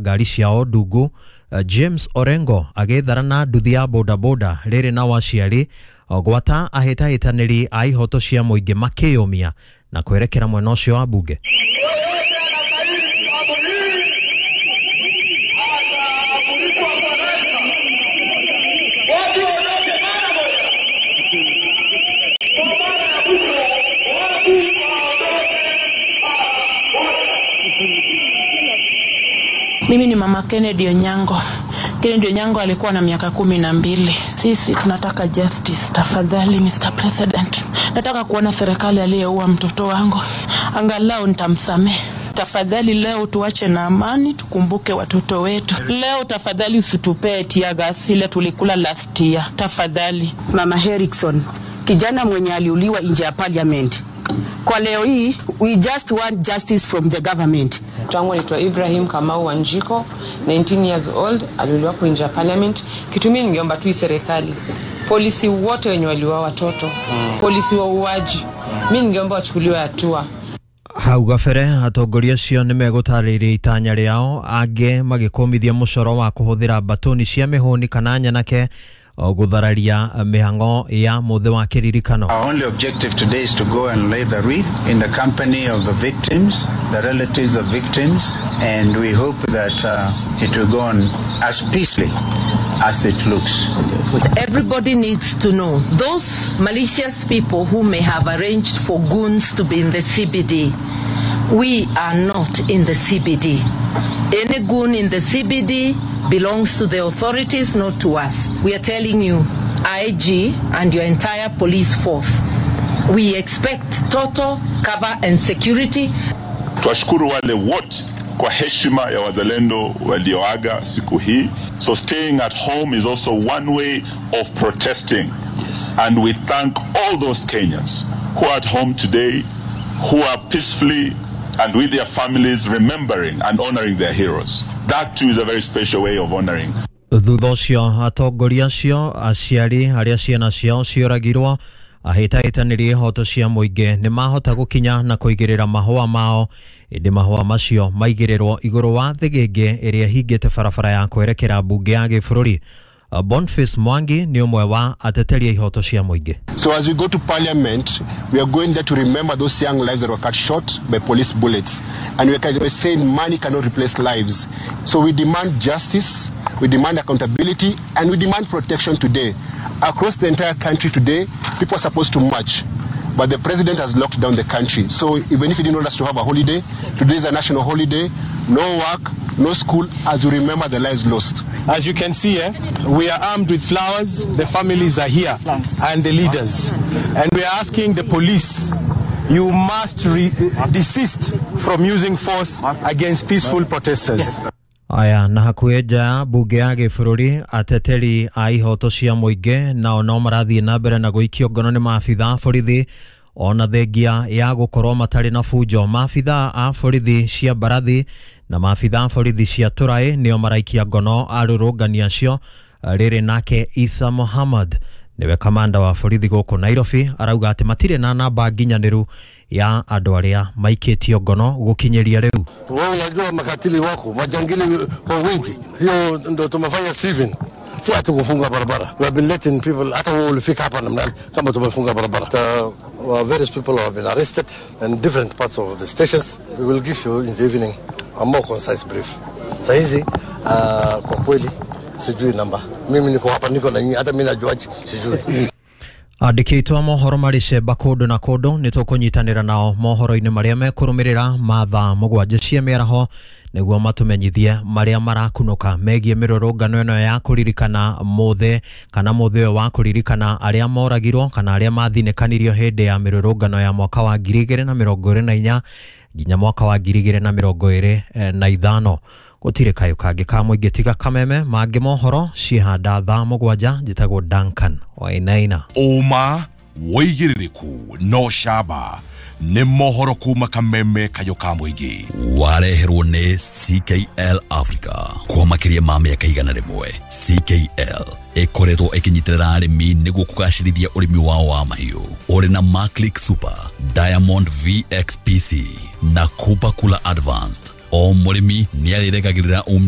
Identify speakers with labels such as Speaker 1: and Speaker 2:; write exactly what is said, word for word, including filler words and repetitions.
Speaker 1: Ngari ciao ndungu. James Orengo agĩthara na nduthi ya bodaboda rĩrĩ na waciari gwata ahĩtahĩtanĩri a ihoto cia mũingĩ makĩyũmia na kwerekera mwena ũcio wa bunge.
Speaker 2: Mimi ni mama Kennedy Onyango. Kennedy Onyango alikuwa na miaka kumi na mbili. Sisi tunataka justice, tafadhali Mister President. Nataka kuona serikali aliyeua mtoto wangu. Angalau nitamsamehe. Tafadhali leo tuache na amani, tukumbuke watoto wetu. Leo tafadhali usitupee tear gas ile tulikula last year. Tafadhali.
Speaker 3: Mama Erickson, kijana mwenye aliuliwa nje ya parliament. Kwa leo hii, we just want justice from the government.
Speaker 4: Mtoto anaitwa Ibrahim Kamau Wanjiko, nineteen years old, aliuliwa nje ya parliament. Kitu mimi ningeomba tu serikali, polisi wote wenye waliuawa watoto, mm. polisi wa uaji, mimi ningeomba wachukuliwe hatua.
Speaker 1: Hau gabere atongoria acio nĩ megũtarĩria itanya rĩao, angĩ magĩkũmithia mũcoro wa kũhũthĩra mbatoni cia mĩhũni kana nyanake gũthararia mĩhang'o ya mũthĩ wa kĩririkano.
Speaker 5: Our only objective today is to go and lay the wreath in the company of the victims, the relatives of victims, and we hope that uh, it will go on as peacefully as it looks.
Speaker 6: Everybody needs to know those malicious people who may have arranged for goons to be in the C B D. We are not in the C B D. Any goon in the C B D belongs to the authorities, not to us. We are telling you, I G and your entire police force, we expect total cover and security.
Speaker 7: Tuwashukuru wale wote kwa heshima ya wazalendo walioaga siku hii. So staying at home is also one way of protesting. Yes. And we thank all those Kenyans who are at home today, who are peacefully and with their families remembering and honoring their heroes. That too is a very special way of honoring.
Speaker 1: Thutha ũcio atongoria acio, aciari arĩa ciana ciao cioragirwo, ahĩtahĩtanĩri ihoto cia mũingĩ nĩ mahota gũkinya na kũigĩrĩra mahũa mao, ĩndĩ mahũa macio maigĩrĩrwo igũrũ wa thĩgĩngĩ ĩrĩa ĩhingĩte barabara ya kwerekera mbunge ya gĩbũrũri. Boniface Mwangi ni ũmwe wa ateteri a ihoto cia mũingĩ.
Speaker 8: So as we go to parliament, we are going there to remember those young lives that were cut short by police bullets. And we are saying money cannot replace lives. So we demand justice, we demand accountability, and we demand protection today. Across the entire country today, people are supposed to march. But the president has locked down the country. So even if he didn't want us to have a holiday, today is a national holiday, no work, no school, as we remember the lives lost.
Speaker 9: As you can see, eh, we are armed with flowers, the families are here, and the leaders. And we are asking the police, you must re desist from using force against peaceful protesters.
Speaker 1: Aya, na hakuhĩ nja ya mbunge ya gĩbũrũri, ateteri a ihoto cia mũingĩ nao no marathiĩ na mbere na gũikio ngono nĩ maabitha a borithi ona thengia ya gũkorwo matarĩ na bunjo. Maabitha a borithi cia mbarathi na maabitha a borithi cia tũraĩ nĩo maraikia ngono arũrũngani acio. Rĩrĩ nake Isa Muhammad nĩwe kamanda wa borithi gũkũ Nairobi arauga atĩ matirĩ na namba nginyanĩru ya andũ arĩa maikĩtio ngono gũkinyĩria rĩu.
Speaker 10: Wewe unajua makatili wako majangili kwa wingi, hiyo ndo tumefanya Steven, si hatukufunga barabara. We have been letting people, hata wao walifika hapa namna kama tumefunga barabara. Uh, various people have been arrested in different parts of the stations. We will give you in the evening a more concise brief. Saa hizi uh, kwa kweli sijui namba. Mimi niko hapa, niko na nyinyi, hata mimi najuaje sijui.
Speaker 1: Andĩki a mohoro marĩ cemba kũndũ na kũndũ nĩ tũkũnyitanĩra nao mohoro-inĩ marĩa mekũrũmĩrĩra ma thaa mũgwanja cia mĩaraho nĩguo matũmenyithie marĩa marakunũka megiĩ mĩrũrũngano ĩno ya kũririkana mũthĩ kana mũthĩ ũyũ wa kũririkana arĩa moragirwo kana arĩa mathinĩkanirio hĩndĩ ya mĩrũrũngano ya mwaka wa ngiri igĩrĩ na mĩrongo ĩrĩ na inya nginya mwaka wa ngiri igĩrĩ na mĩrongo ĩrĩ na ithano. Gũtirĩ kayũ kangĩ ka mũingĩ tiga kameme mangĩ mohoro ciĩhanda thaa mũgwanja. Njĩtagwo Duncan Wainaina.
Speaker 11: Ũma wĩigĩrĩrĩku no camba nĩ mohoro kuma kameme kayũ ka mũingĩ
Speaker 12: wareherwo nĩ C K L Africa kwa makĩria ma mĩaka igana rĩmwe. C K L ĩkoretwo ĩkĩnyitĩrĩra arĩmi nĩguo kũgacĩrithia ũrĩmi wao wa mahiũ ũrĩ na Maclick Super, Diamond V X P C na Kupa Kula Advanced. O mũrĩmi nĩ arĩregagĩrĩra umithio.